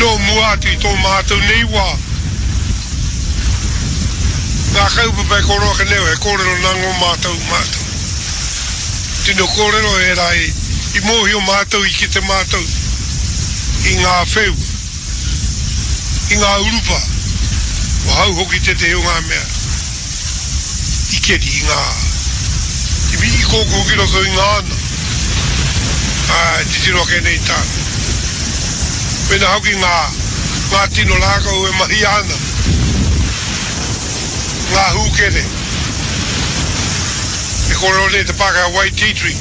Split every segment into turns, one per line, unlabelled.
Nō mua atu i tō mātou nei wā, ngā kaupapa e kōrero ake nei he kōrero nā ngō mātou mātou. Tino kōrero ērā i mōhio mātou, i kite mātou i ngā wheu, i ngā urupā, ko hau hoki tētehi o ngā mea i keri i ngā, i kōkō ki roto i ngā ana, ā, titiro ake nei tātou. Mēnā hoki ngā, ngā tino rākau e mahia ana, ngā hūkere, e kōrero nei te Pākehā white tea tree,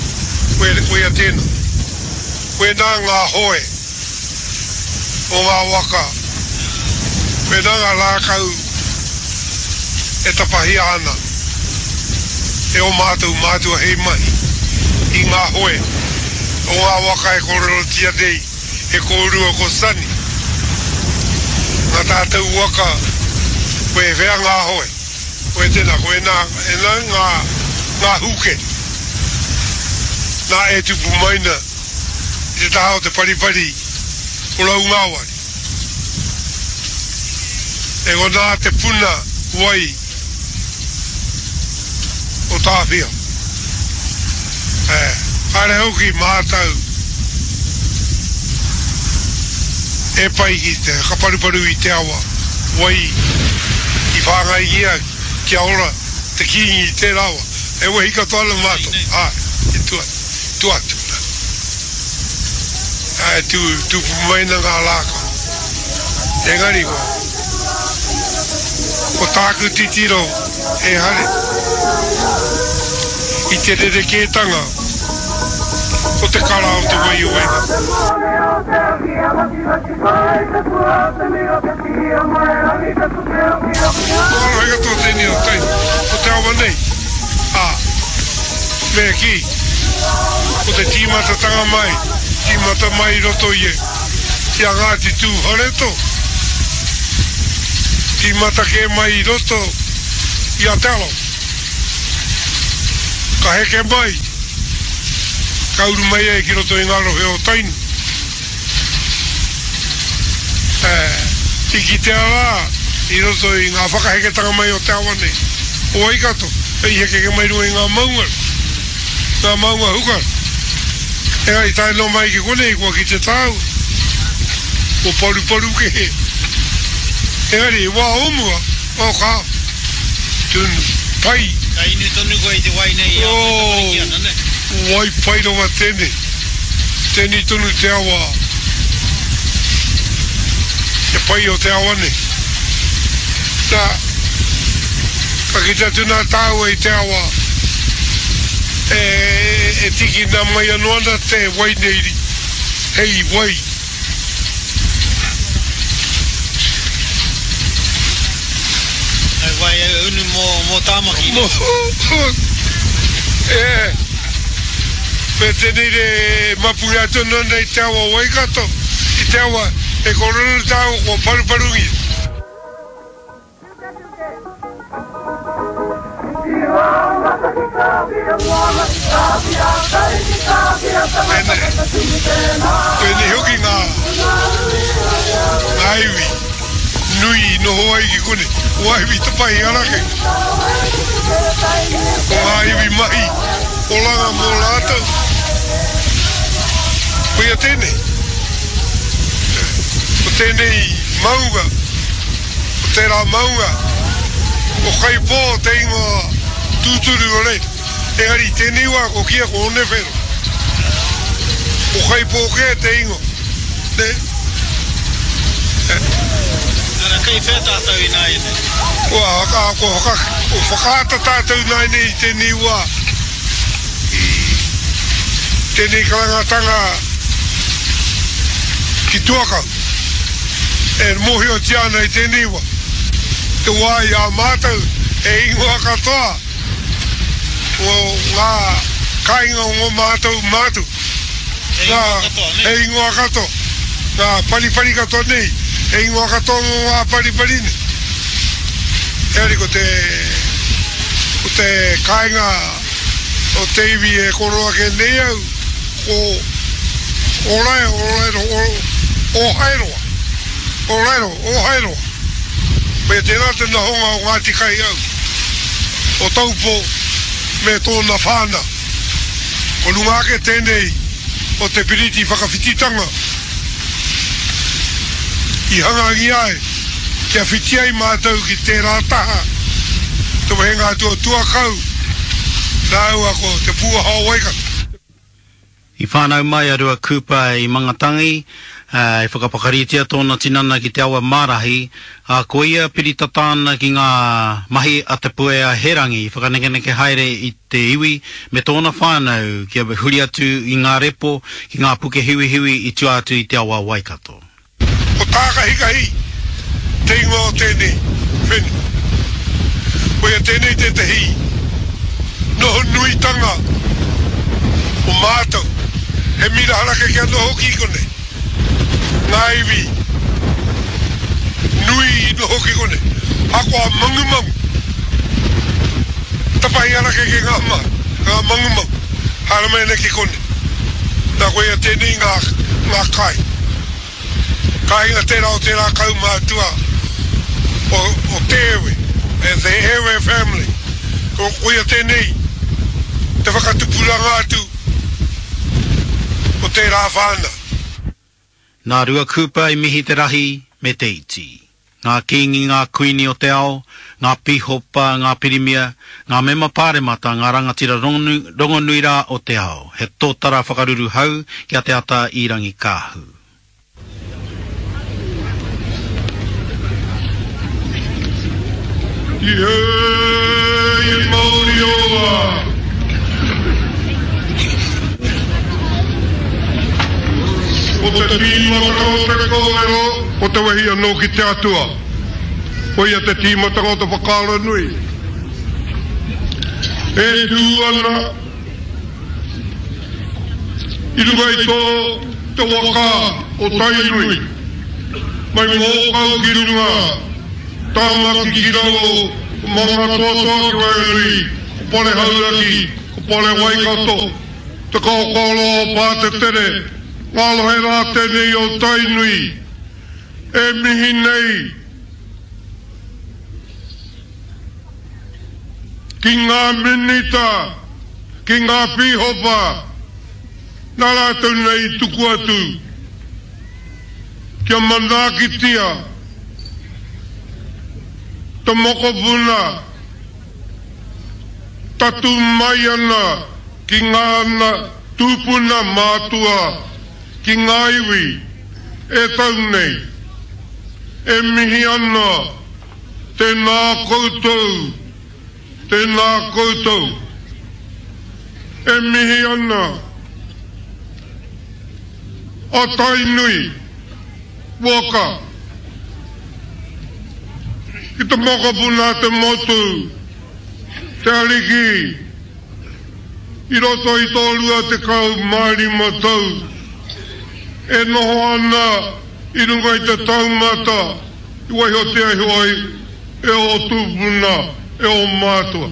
koia tēnā. Koinā ngā hoe o ngā waka, koinā ngā rākau e tapahia ana e ō mātou mātua hei mahi i ngā hoe o ngā waka e kōrerotia nei e kōrua ko Sonny. Ngā tātou waka, koe whea ngā hoe? Koe tēnā, koe nā, e nā ngā, ngā hūkeri. Nā e tupu mai na i te taha o te paripari o Raungāwari. E konā te puna wai o Tāwhiao. E, kāre hoki mātau e pai ki te whakaparuparu i te awa wai i whāngaingia kia ora te Kīngi i tērā wā. E wehi katoa ana mātou, āe, i tua, tua atu nā. Āe, tū, tūpu mai ana ngā rākau. Engari ko, ko tāku titiro ehare i te rerekētanga o te kara o te wai o Waikato. Ko Arohe katoa tēnei o tai, o te awa nei, ā, me kī, ko te tīmatatanga mai, tīmata mai i roto i i a Ngāti Tūwharetoa, tīmata kē mai i roto i a Te Arawa. Ka heke mai, ka uru mai ai ki roto i ngā rohe o Tainui. I kitea rā i roto i ngā whakaheketanga mai o te awa nei, o Waikato, i hekeke mai runga i ngā maunga, ngā maunga huka. Engari tae noa mai ki konei kua kite tāua, kua paruparu kē. Engari i wā o mua, oh ka, tunu, pai.
Ka inu tonu koe i te wai nei i a koe tamariki ana, ne?
Oh, wai pai rawa tēnei. Tēnei tonu te awa, te pai o te awa nei. Nā, ka kite atu nā tāua i te awa e, e tīkina mai anō ana te wai nei hei wai.
Hei wai unu mō, mō Tāmaki, nē?
Mō, e, me tēnei re mapu atu anō nei te awa o Waikato, i te awa e kōrero tāua kua paruparungia. Pēnei hoki ngā ngā iwi nui i noho ai ki konei, ko ngā iwi tapahi arake, ko ngā iwi mahi oranga mō rātou. Koia tēnei, ko tēnei maunga. Ko tērā maunga, ko Kaipō te ingoa tūturu o reira. Engari i tēnei wā ko kīia ko Onewhero. Ko Kaipō kē te ingoa, nē?
Ara, kei whea tātou ināianei?
Kua, kua whaka, kua whakaata tātou ināianei i tēnei wā, i tēnei karangatanga ki Tuakau. E mōhiotia ana i tēnei wā, te wā i a mātou he ingoa katoa mō ngā kāinga o ngō mātou mātua.
He ingoa katoa, nē?
He ingoa katoa. Ngā paripari katoa nei, he ingoa katoa mō ngā paripari nei. Engari ko te, ko te kāinga o te iwi e koro ake nei au, ko Orae, Oraeroa, Ohaeroa. O Raeroa, o Haeroa. Koia tērā te nohonga o Ngāti Kaihau, o Taupō me tōna whānau. Ko runga ake tēnei o te piriti whakawhititanga i hangangia ai kia whiti ai mātou ki tērā taha, te wehenga atu o Tuakau rāua ko Te Pūaha o Waikato.
I whānau mai a Rua Cooper i Mangatangi, ā, i whakapakaritia tōna tinana ki te awa Mārahi, ā, ko ia piri tata ana ki ngā mahi a Te Puea Herangi i whakanekeneke haere i te iwi me tōna whānau kia huri atu i ngā repo ki ngā puke hiwihiwi i tua atu i te awa Waikato.
Ko Tākahikahi te ingoa o tēnei whenua. Koia tēnei tētehi noho nuitanga o mātou. He mira harakeke anō hoki i konei. Ngā iwi nui i noho ki konei. Ahakoa mangumangu, tapahi harakeke ngā ngā mangumangu, haere mai ana ki konei. Nā koia tēnei ngā ngā kai. Kāinga tērā o tērā kaumātua o, o Te Ewe, the Ewe family. Ko, koia tēnei te whakatupuranga atu o tērā whānau.
Nā Rua Cooper i mihi te rahi me te iti. Ngā kīngi, ngā kuini o te ao, ngā pīhopa, ngā pirimia, ngā mema pāremata, ngā rangatira rongonui rā o te ao, he tōtara whakaruru hau ki a Te Ata i Rangikaahu.
Tihei mauri ora! Ko te tīmatanga o te kōrero, ko te wehi anō ki te Atua. Koia te tīmatanga o te whakaaro nui. E tū ana i runga i tō te waka o Tainui, mai Mōkau ki runga, Tāmaki ki raro, ko Mangatoatoa ki waenganui, ko Pare Hauraki, ko Pare Waikato, Te Kaokaoroa o Pātetere, ngā rohe rā tēnei o Tainui e mihi nei ki ngā minita, ki ngā pīhopa, nā rātou nei i tuku atu kia manaakitia te mokopuna Tatū mai ana ki ngā tūpuna mātua ki ngā iwi e tau nei. E mihi ana tēnā koutou, tēnā koutou. E mihi ana a Tainui waka ki te mokopuna a te motu. Te Ariki, i roto i tō 25 tau e noho ana i runga i te taumata i waihotia iho ai e ō tūpuna, e ō mātua.